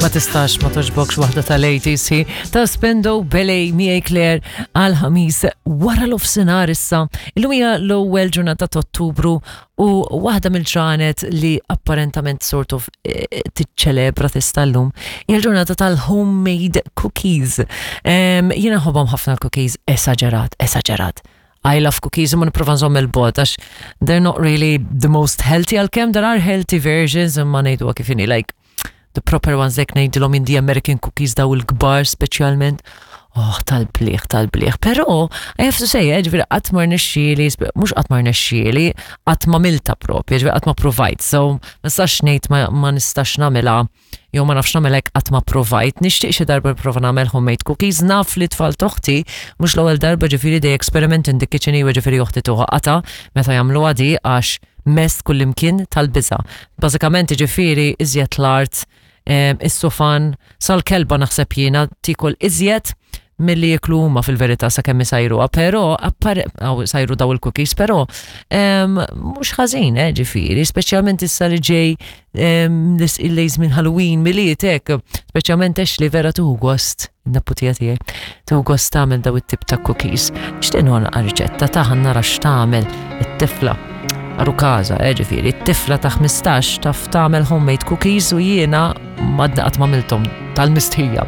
Ma tistax ma toġbokx waħda tal-80s hi ta' Spendo Belej miegħi Claire għal ħamis wara l-ofsinhar issa. Illum hija l-ewwel ġurnata ta' Ottubru u waħda mill-ġranet li apparentament sort of eh, tiċċelebra tista' llum hija l-ġurnata tal-homemade cookies. Jiena ħobhom ħafna l-cookies, esaġerat, esaġerat. I love cookies imma nipprova nżomm il-bogħod għax they're not really the most healthy għalkemm there are healthy versions imma ngħiduha kif inhi like the proper ones hekk ngħidilhom in the American cookies daw il-kbar speċjalment. Oh, tal-bliħ, tal-bliħ. Però, I have to say, eh, ġifieri qatt ma rnexxieli, mhux qatt ma rnexxieli, qatt ma milta propja, ġifieri qatt ma provajt. So, ma nistax ngħid ma nistax nagħmilha jew ma nafx nagħmel hekk qatt ma provajt. Nixtieq xi darba nipprova nagħmel homemade cookies. Naf li tfal t'oħti mhux l-ewwel darba ġifieri they experiment in the kitchen iwa ġifieri oħti tuħa qata meta jagħmluha di għax mess kullimkien tal-biża'. Bażikament ġifieri iżjed l-art, is-sufan, sal-kelba naħseb jiena tiekol iżjed milli jiklu huma fil-verità sakemm isajruha, però sajru daw il-cookies, però mhux ħażin, eh, ġifieri, speċjalment issa li ġej il-lejż minn Halloween, Milied hekk, speċjalment għax li vera tuħu gost, naputija tiegħi, tuħu gost tagħmel daw it-tip ta' cookies. Nixtieq nagħlaq riċetta ta' nara x'tagħmel it-tifla. Aru kaza, eh, ġifieri, it-tifla ta' 15 taf tagħmel homemade cookies u jiena madna qatt m'għamilthom tal-mistħija.